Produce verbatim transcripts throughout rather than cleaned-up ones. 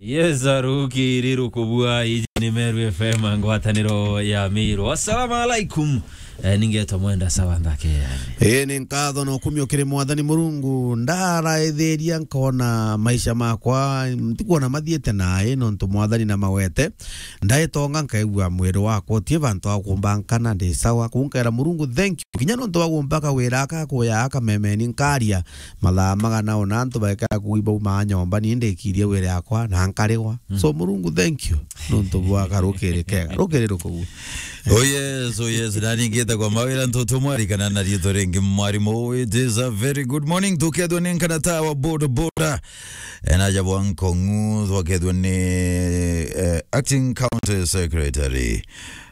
Yes, arukiri rukubua, iji ni Meru F M, ngwataniro ya Miru. Assalamu alaikum. Eh, ningetwa Mwenda Sawa Nthake, yani. Ii, ni nkatho na ukumio kiri Mwathani Murungu. Ndaraithiria nkona maisha makwa, ntikwona mathiite nae, nontu Mwathani na mawete. Ndaitonga nkaigua mwiri wakwa utie bantu akumbankana, ndi sawa. Kunkera Murungu, thank you. Kinya nontu wa kumbaka wira aka kuya aka memeni nkaria. Mathaa magana ona antu baikara kuui baumaa nyomba, ni ndikirie wira yakwa na nkarigwa. Mm. So, Murungu, thank you. Nontu bwa karukiri kega. Rukiri rukugu. Oh yes, oh yes. Nani ngita kwa mawira ntutu mwarikana na riitwa ringi mwarimu. It is a very good morning. Tukethwa ni nkana tawa boda boda. Ena aja bwa Nkongu, twakethwa ni, eh, acting county secretary,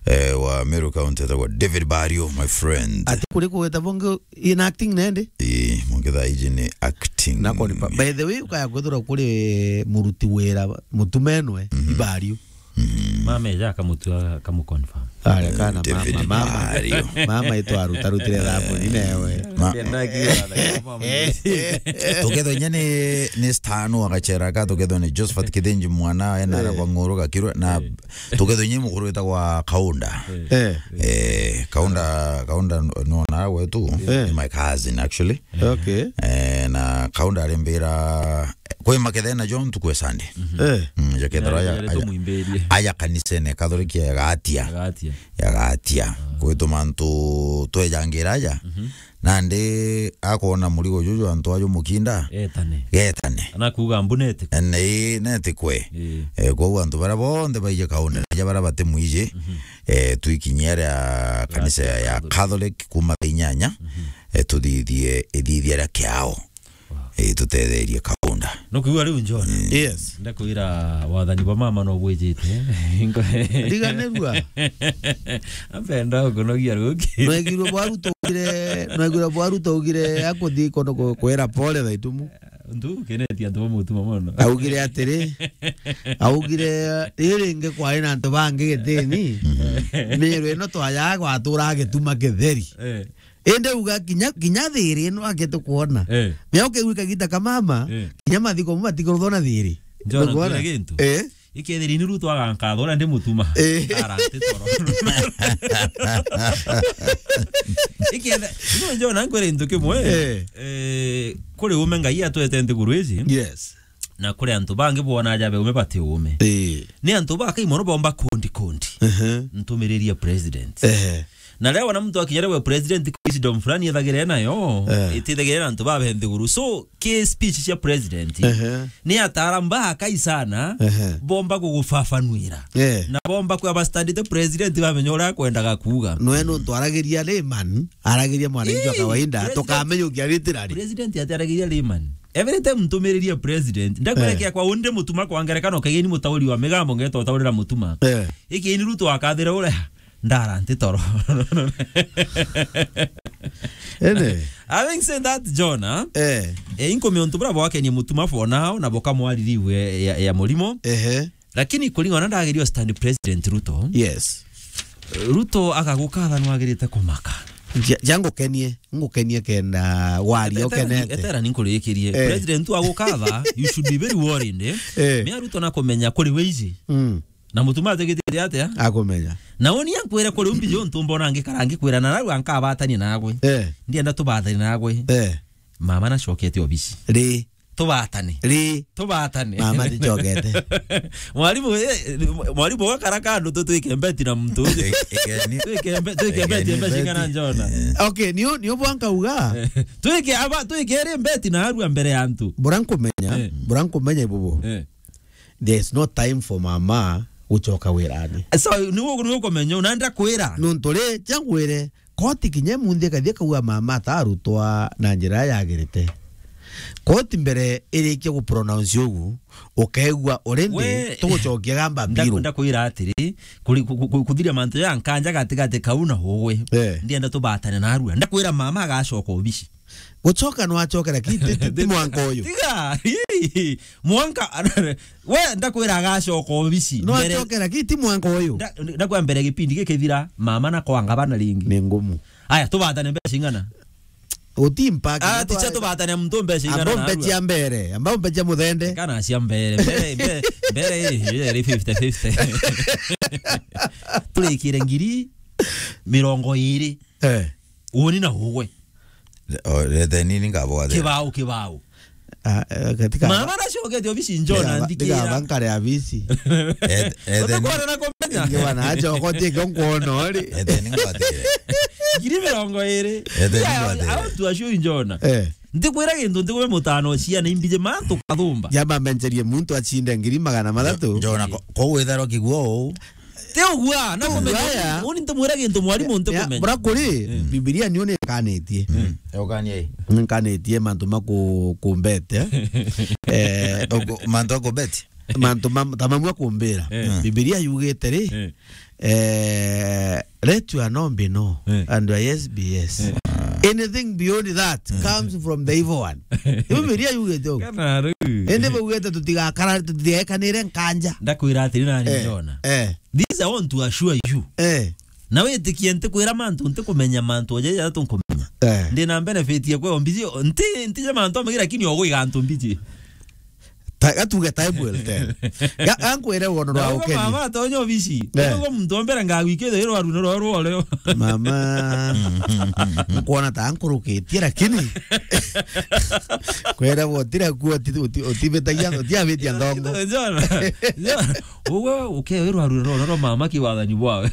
eh, wa Meru County, etagwa David Bario, my friend. Ati kuri kugweta bonge in acting nende? Ii, mwangi thaa iji ni acting. Na koni pa-, by the way, ukaya kwithirwa kuri muruti wira mutumenwe, mhm, Ibario. Mhm. Mama eja akamutua, akamuconfirm. Are kana David mama, mama. Bario. Mama itu arutarutire thamuni newe. Ma- Tukethwa inya ni, ni Stan wa Gachera ka, tukethwa ni Josephat Kithinji mwana, ena, eh, arabwa Ng'uru Gakirwe, na tukethwa inya mukuru witagwa Kaunda. Eh. Eh, Kaunda, Kaunda n-, nona wetu, eh, ni my cousin actually. Okay. Eh, na Kaunda arimbira, kwi makethe na John tukwe Sunday. Mhm. Eh. Mm, ja kethira ya, ya, ya, tumwimbirie. Aja kanisene Catholic ya Gatia. Ya Gatia. Ya Gatia. Ah. Kwitu mantu twejangira aja. Mhm. Nandi akoona murigo juju antu aju mukinda. Etane. Getane. Ana kuuga mbu netikwe. Ene, netikwe. Ii. Eh, kwou antu baria bonthe baije Kaunda, ja baria batimwiji, mhm, eh, twikinyia aria kanisa ya, ya Catholic. Catholic kuma thaa inyanya, mhm, eh, tuthithie ithithia ria kiao. Wow. Eh, tutetherie Kaunda. Nukwigua riu, John? Mm. Yes. Ndakwira wathani bwa mama no bwijite. Riganirua. Ampenda ukunogia ruki. Nwegirwe bwaru tugire, nwegirwe bwaru tugire akuthi kono ku-, kwera pole thaa itumu. Ndu kenetia antu ba mutuma mono. Augire atiri, augire, "Riri ringi kwari na antu bangi gitini. Mhm. Miru ino twajaga gwatura gituma kitheri." Eh. Indi uga kinya, kinya thiri ino ake tukwona. Eh. Mea ukeigua kagita ka mama, eh, kinya mathiko mu matikuruthwa na thiri. Njona Nukwona? Ngwire gintu. Eh. Ikethiri ni Ruto agankatha uria ndi mutuma. Eh. Ara nti toro. Ikethe-, no, njona nkwire gintu kimwe. Eh. Eh, kuri ume Ngai atwete nthiguru iji. Yes. Na kuri antu bangi bwona aja be ume bati ume. Eh. Ni antu bakai mono bomba kundi kundi. Ehe. Ntumiriria president. Ehe. Na riria wona muntu akinya riria president wisdom fulani ethagire nayo, eh, itithagire na antu babe nthiguru. So, ki speech cia president, ehe, ni ataara mbaa kai sana, ehe, bomba gugufafanuira. Eh. Na bomba kwa bastandite president bamenya uria akwendaga kuuga. Noe nontu aragiria layman, aragiria mwananchi wa, ii, kawaida, president, tukamenya ukiaritira ri. President ati aragiria layman. Every time ntumiriria president, ndakwira, eh, kia kwa undi mutuma kwa ngerekano, kaigeni mutauri wa migambo ngeta utaurira mutuma. Eh. Iki ni Ruto akathire uria ndara nti toro. Ene. Having said that, John, ah, eh, eh, inkumia untu buria bwakenie mutuma for now, na bukamwaririu ya, ya, ya murimo. Ehe. Lakini kuringana na ndagirio stand President Ruto. Yes. Ruto agagukatha nwagirite kumaka. Ja-, ja ngukenie, ngukenie kenda waria ukenete. Etera ni nkurikirie. Eh. President agukatha, you should be very worried, eh? Eh. Mea Ruto na kumenya kuri wiji. Mm. Na mutuma atigitite atia? Akumenya. Na uni ankwire kuri umbi jo ntu mbona ngikara ngikwira na rau ankabatania nagwe. Eh. Ndienda tubathani nagwe. Eh. Mama na cokete obisi. Ri. Tubatane. Ri. Tubatane. Mama ticokete. Mwalimu, eh, mwalimu wakara kandu tu twike mbeti na mtu. Twike mbe-, twike mbeti, mbeti cingana njona. Eh. Okay, niu, niu bwankauga. Twike aba, twike ri mbeti na arua mbere ya antu. Bura nkumenya, eh, bura nkumenya ibubu. Eh. There is no time for mama gucoka wirani. So, ni gu-, ni ukumenya, na ndakwira. Nontu ri, cia ngwire, koti kinya munthi ikathie kauga mama atarutwa na njira yagirite. Koti mbere irikia gu pronounce ugu, ukaigua already we, tugucokia gamba ndaku-, biru. Ndakwira atiri, kuri-, ku-, ku-, ku-, kuthiria mantu ya nkanja gatigati kau na ugwe. Eh. Ndienda tubatane narua. Ndakwira mama agacoka obici. Gucoka no acokera ki, ti, ti, ti mwanka uyu. Tiga, ii, mwanka, we, ndakwira agacoka obici. No mbere acokera ki, ti mwanka uyu. Nda-, ndakwira mbere gipindi gikithira, mama na kwanga bana ringi. Ni ngumu. Aya, tubatane mbeca ing'ana? Utimpa. Ah, ticha tubatania muntu mbeca igana. Ambao mbecha mbere, ambao mbecha muthende. Kana cia mbere, mbere, mbere, mbere iri, iri fifty fifty. Turikire ngiri mirongo iri. Eh. Uoni na ugwe. O, rete nini ngabwa the. Kibao, kibao. Ah, eh, katika. Mama nacokete obici njona, ndiga, ndiga ndikiira. Bankare abisi. Eh, eh, then. Utakuwa na kumenya. Ngiwa na acha okotie kio nkuona ori. Eh, then ngwatire. Ngiri mirongo iri. Eh, then ngwatire. Yeah, I want to assure you, njona. Eh. Ndikwira gintu, ndikume mutano cia na imbije mantu kathumba. Jamba menjerie muntu achinde ngiri magana mathatu. Njo-, njona ko-, ko witharo kiguo uu. Ti ugua, na kumenya. Ugua ya. Uni ntimwira gintu mwarimu ntikumenya. Bura kuri, mm, Bibilia niyo nikanitie. Mm. Ukanie. Nikanitie mantu ma ku-, kumbete. Eh, ugu-, mantu ma kumbete? Mantu ma-, ta mamwe kumbira. Eh. Bibilia yugite ri, eh, let your no be no, eh, and your yes be yes. Eh. Anything beyond that, eh, comes from the evil one. Bibilia yugite ugu. Kana riu. Indi baugite tutigakara, tutigekanire nkanja. Ndakwira atiri nani, eh, njona. Eh. This I want to assure you. Eh. Na witikie ntikwira mantu, ntikumenya mantu oje ya tunkumenya. Eh. Ndi na benefit ya kwe ombiji, nti, nti je mantu amagi, lakini ogwiga antu mbiji. Ta, gatuge time will tell. Ga-, gankwire wono rwa ukeni. Mama tonyo obici. Eh. Ugo muntu ombere ngagwikire iro aru no rwa rwa leo. Mama. Nkuona ta nkurukitie, lakini kwera wotira kuo uti-, uti-, utibetagia, utiabitia ndongo. Njona, njona. Uwe ukewirwa ruroro rwa mama kiwathani bwawe.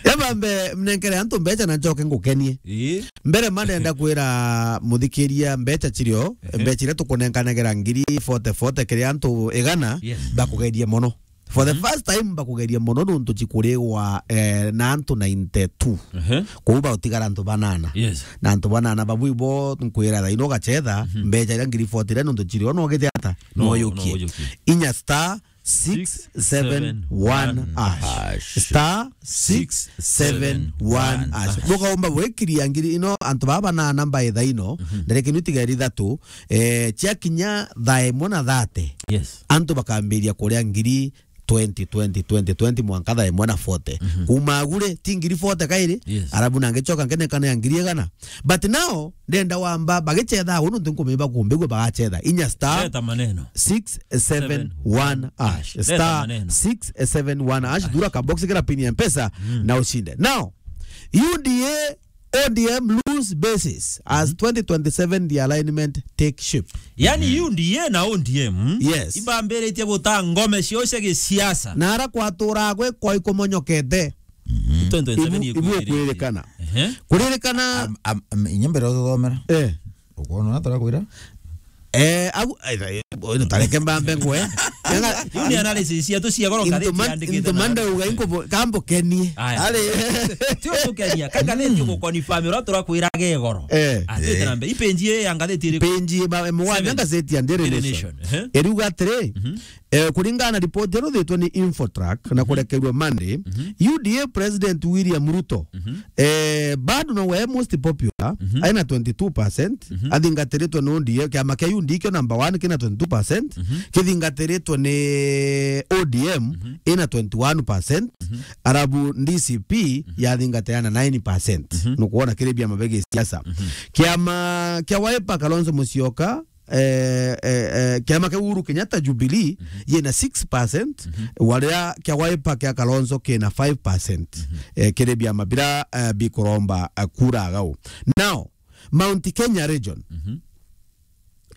Yabambe mnenkere antu mbecha na njoke ngukenie. Ii. Mbere ma ndenda kwira muthikiria mbecha chirio, ehe, mbecha iria tukunenkanagira ngiri forty forty kiri antu igana, yes, bakugerie mono. For the, mhm, first time bakugerie mono nuntu chikurigwa, eh, na antu ninety-two. Ehe. Kuu bautigara antu banana. Yes. Na antu banana babu ibo nkwira thaino ugachetha, mhm, mbecha iria ngiri forty iria nuntu chirio no gite ata? No, no yukie. No yukie. Inya star six seven one hash. Six seven one hash. Star six seven one hash. Six seven one hash. Bukaumba gwikiria ngiri ino, antu baba na namba itha ino, mhm, nderekenu tigeri ithatu, eh, chiakinya thaa imwe na thirty. Yes. Antu bakambiria kuria ngiri twenty, twenty, twenty, twenty, mwanka thaa imwe na forty. Mhm. Kuma agure, ti ngiri forty kairi, yes, arabu nangichoka nkenekana ya ngiri igana. But now, ndenda wamba bagichetha uu nuntu nkumenya bakumbigua bagachetha. Inya star, leta maneno, six seven one hash. Leta maneno. Star six seven one hash. Thura ka box kira pin ya Mpesa, mm, na ushinde. Now, U D A, O D M lose bases as, mhm, twenty twenty-seven the alignment take shape. Yani, mhm, U D A na O D M, yes, ibambiritie guta ngome ciao cia gisiasa. Na ara kwatura gwe kwa ikumonyokete. Mhm. Twenty twenty-seven ibu-, ibu ikwirikana. Ehe. Kuririkana. Am, am, am, inya mbere ututhomera. Eh. Ukwona na tarakwira? Eh, au, ai, ai, uyu tareke mbambe ngwe. Yu ni analysis cia tu cia goro ngathiti yandikite na ndauga inko bo-, kambo kenie. Aya. Ari. Ti utukenia, ka ngathiti, mm, ugukonfirm uria turakwira ge goro. Eh. Atwite, eh, na mbe. Ipenji ya ngathiti iriku? Penji ba, mwana seven. Ngathiti ya Daily Nation. Daily Nation, ehe. Iriuga atiri, mhm. Eh, kuringana na ripoti iria ruthitwe ni Infotrack na, mhm, kurekerua Monday, mhm, U D A President William Ruto, mhm, eh, bado nowe most popular, mhm, aina twenty-two percent, mhm, athingatiritwe ni U D A, kiama kia U D A kio number one kina twenty-two percent, mhm, kithingatiritwe ni O D M, mhm, ina twenty-one percent, mhm, arabu D C P, mhm, yathingatira na nine percent. Mhm. Nukuona kiri biama bia gisiasa. Mhm. Kiama kia Wiper, Kalonzo Musyoka, eh, eh, eh, kiama kia Uhuru Kenyatta Jubilee, mhm, yina six percent, mhm, waria kia Wiper kia Kalonzo kina five percent, mhm, eh, kiri biama bira, eh, bikuromba, eh, kura agau. Now, Mount Kenya region, mhm,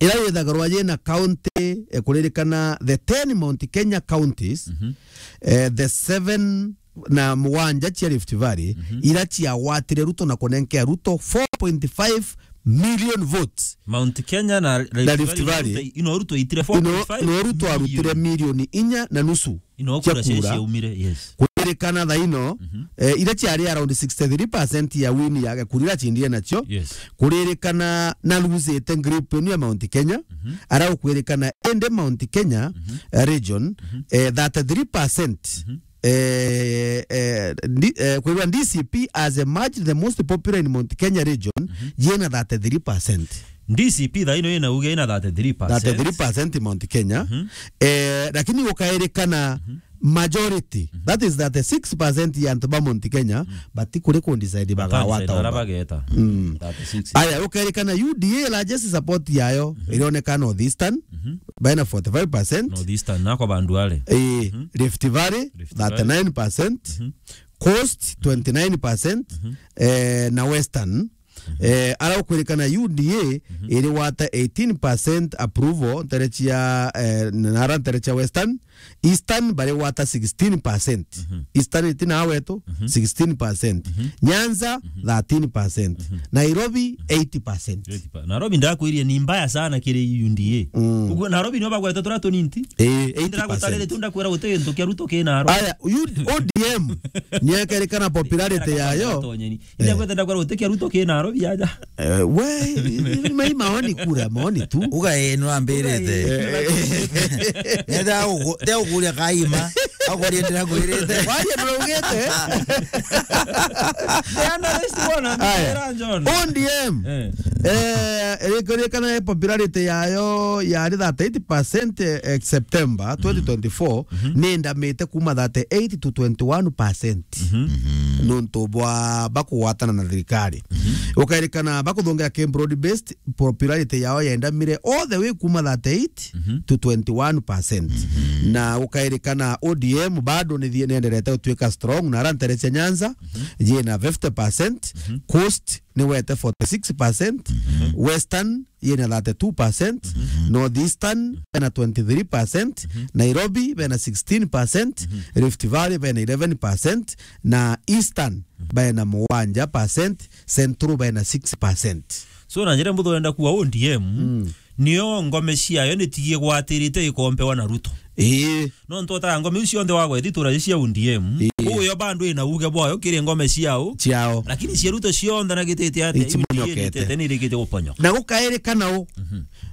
ira yithagirwa yina county, eh, kuririkana the ten Mount Kenya counties, mhm, eh, the seven na mugwanja cia Rift Valley, mhm, ira ciagwatire Ruto na kunenkea Ruto four point five million votes. Mount Kenya na Rift Valley. Na Rift Valley. Ino Ruto itire four point five million. Ino, ino Ruto arutire milioni inya na nusu. Ino kura cia kura ciaumire, yes. Kuririkana thaino, mhm, eh, ira ciari around sixty-three percent ya win ya kura ira acindire nacio. Yes. Kuririkana na losite group ino ya Mount Kenya. Mhm. Ara ukwirikana ende Mount Kenya, mhm, eh, region, mhm, eh, thirty-three percent. Mhm. Eh, eh, ndi-, eh, kwirwa D C P has emerged the most popular in Mount Kenya region, mhm, yina thirty-three percent. D C P thaino yina uge yina thirty-three percent. Thirty-three percent Mount Kenya. Mhm. Eh, lakini ukairikana, mhm, majority, that is thirty-six percent ya antu ba Mount Kenya, batikuri ku decide bagawata. Ara bageta. Mm. Thirty-six. Aya, ukerikana U D A largest support yayo irioneka North Eastern, bena forty-five percent. North Eastern, nako bandu are. Eh, Rift Valley, Rift Valley. Thirty-nine percent. Coast, twenty-nine percent. Eh, na Western, eh, ara ukwirikana U D A iri wata eighteen percent approval ntere cia, eh, nara ntere cia Western. Eastern bari wata sixteen percent. Eastern iti na wetu, sixteen percent. Nyanza, thirteen percent. Nairobi, eighty percent. Nairobi ndakwirie ni mbaya sana kiri U D A. Mm. Uguo Nairobi nio bagwete turia tunini ti? Eh, eighty percent. Ndiragutarire tu ndakwira guti gintu kia Ruto ki Nairobi. Aya, U-, O D M, niekerikana popularity yayo. Inde gwete ndakwira guti kia Ruto ki Nairobi aja. Eh, we, ni mai maoni kura, maoni tu. Uga, eh, no ambirite. Eh. Nenda ugu-, nde uguria kaima. Aguria ndira gwirite. Waje ndiraugite. Aya. Ira John. O D M. Eh. Eh, irikurikana popularity yayo yari thirty-eight percent, eh, September twenty twenty-four, ni ndamite kuma thirty-eight to twenty-one percent. Nontu bwa bakugwatana na thirikari. Ukairikana bakuthongea ki broad based, popularity yao yendamire all the way kuma thirty-eight to twenty-one percent. Na ukairikana O D M bado ni thie-, nienderete gutuika strong, na ara ntere cia Nyanza, yina fifty percent, Coast ni wete forty-six percent, Western yina thirty-two percent, North Eastern bena twenty-three percent, Nairobi bena sixteen percent, Rift Valley bena eleven percent, na Eastern bena mugwanja percent, Central bena six percent. So, na njira mbuthu urenda kuuga O D M, nio ngome ciayo nitigie gwatirite ikompewa na Ruto. Ii. No ntu utaga ngome iu cionthe wagweti tura cia O D M. Ii. Uyo bandu ina uge bwayo kiri ngome ciao. Ciao. Lakini cia Ruto cionthe na gitite ati, U D A nitete nirikite guponyoka. Na gukairikana u.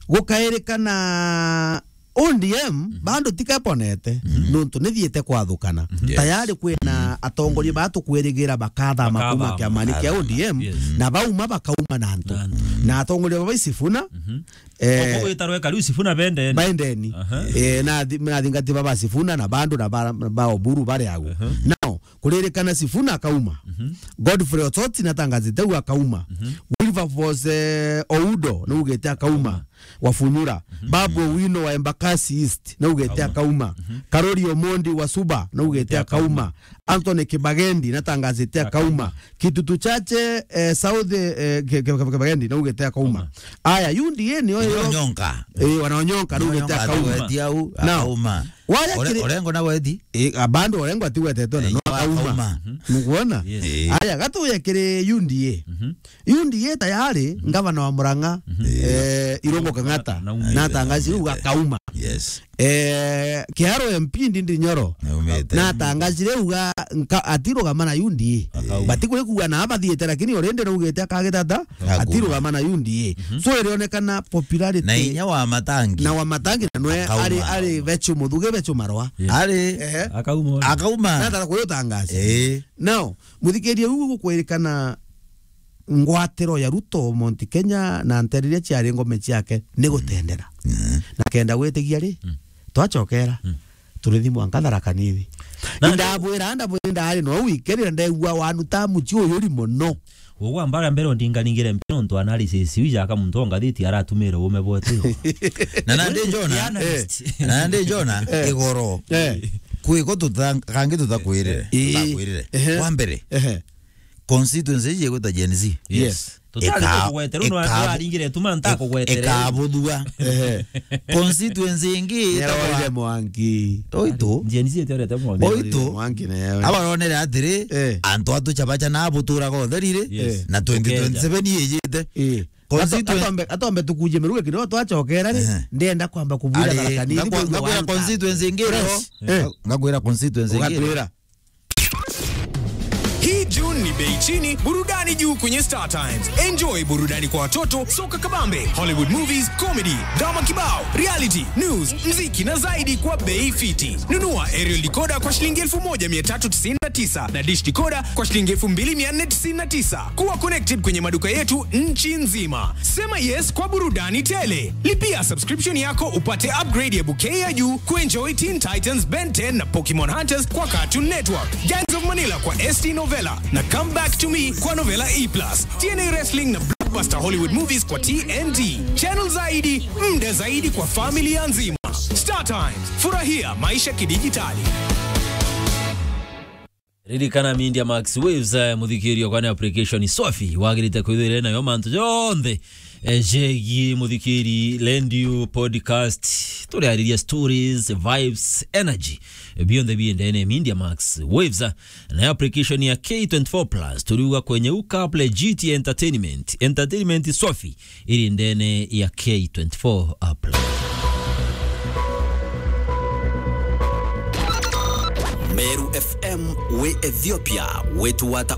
Gukairikana O D M bado tikeponete, nontu nithiite kwathukana. Yes. Tayari kwina atongoria batukwirigira bakathama kuma kiamani kia O D M, na bauma bakauma na antu. Na antu. Na atongoria baba Sifuna, eh, obo gwita rweka riu Sifuna bendeni. Bendeni. Aha. Eh, na thi-, na thingati baba Sifuna na bandu na ba, ba Oburu bari agu. Aha. Now, kuririkana Sifuna akauma. Godfrey Osoti natangazite u akauma. Wilberforce, eh, Oudo naugite akauma. Wafunyura. Babu Owino wa Embakasi East naugite akauma. Karori Omondi wa Suba naugite akauma. Anthony Kibagendi natangazite akauma. Kitutu Chache, eh, South, eh, Ki-, Ki-, Ki-, Kibagendi naugite akauma. Aya, U D A nio yo. Onyonka. Eh, wanaonyonka naugite akauma. Ati au, now, akauma. Waja Ore-, kiri Orengo na Wedi? Eh, a, bado Orengo atigwetetwe na no akauma. Akauma. Nukuona? Yes. Eh. Aya, gatuye kiri U D A. U D A tayari, ngavana wa Murang'a, eh, Irungu Kang'ata, natangazire uga akauma. Yes. Eh, Kiharu M P Ndindi Nyoro, natangazire uga nka-, atirugama na U D A. Akauma. Batikuri kuuga na abathiite, lakini already naugite akagitata, atirugama na U D A. So, irionekana popularity na inya wa Matangi. Na wa Matangi na nwe ari, ari Bechu Muthuge, Bechu Marwa. Ari. Ehe. Akauma. Akauma. Natara kuyo tangaza. Eh. Now, muthikiria, uu gukwirikana ngwatiro ya Ruto Mount Kenya na ntere iria ciari ngome ciake ni gutendera. Na kenda gwitigia ri, twacokera, turithi mwanka Tharaka Nithi. Na ndabwira, ndabwira, ndari no wikerira ndegua wanu ta muci uyu ri muno. Ugwa mbara mbere ndinganingire mpi nontu analysis iu jaka muntu o ngathiti aratumire ume bwete. Na nandi Jona, na nandi Jona, igoro. Eh. Kwiko tuta-, kangi tutakwirire, tutakwirire. Ehe. Wa mbere, constituency iji igwita Gen Z. Yes. Tutari kugwetera, no aringire tuma ntakugwetere. Ikabuthua. Ehe. Constituency ingi itagwa Mwangi. Oito. Gen Z itiorete Mwangi. Oito. Mwangi na yawe. Abaronere atiri, antu atu chabacha na abuturaga utherire, na twenty twenty-seven ijite. Eh. Constituency. Atombe, atombe tukuje miruge kidogo twachokera ri, ndenda kwamba kubwira Tharaka Nithi. Ngakwira constituency ingi ro. Ngakwira constituency ingi. Ugatwira. Hii June ni bei chini, burudani juu kwenye Star Times. Enjoy burudani kwa watoto, soka kabambe, Hollywood movies, comedy, drama kibao, reality, news, mziki na zaidi kwa bei fiti. Nunua aerial decoder kwa shilingi elfu moja mia tatu tisini na tisa na dish decoder kwa shilingi elfu mbili mia nne tisini na tisa. Kuwa connected kwenye maduka yetu nchi nzima. Sema yes kwa burudani tele. Lipia subscription yako upate upgrade ya bouquet ya juu kuenjoy Teen Titans, Ben ten na Pokemon Hunters kwa Cartoon Network, Gangs of Manila kwa S T Novella na Come Back to Me kwa Novella E plus, T N A Wrestling na blockbuster Hollywood movies kwa T N T. Channel zaidi, muda zaidi kwa familia nzima. Star Times, furahia maisha kidijitali. Ririkana Media Max Waves, eh, muthikirio kwa ni application swafi wagirite kwithirira nayo mantu jonthe, eh, jegi muthikiri, radio, podcast, turiariria stories, vibes, energy, eh, bionthe biendene Media Max Waves, eh, na application ya K twenty-four plus, turiuga kwenye ukaple G T Entertainment, entertainment swafi, iri ndene ya K twenty-four app. Meru F M wi Ethiopia, wetu wata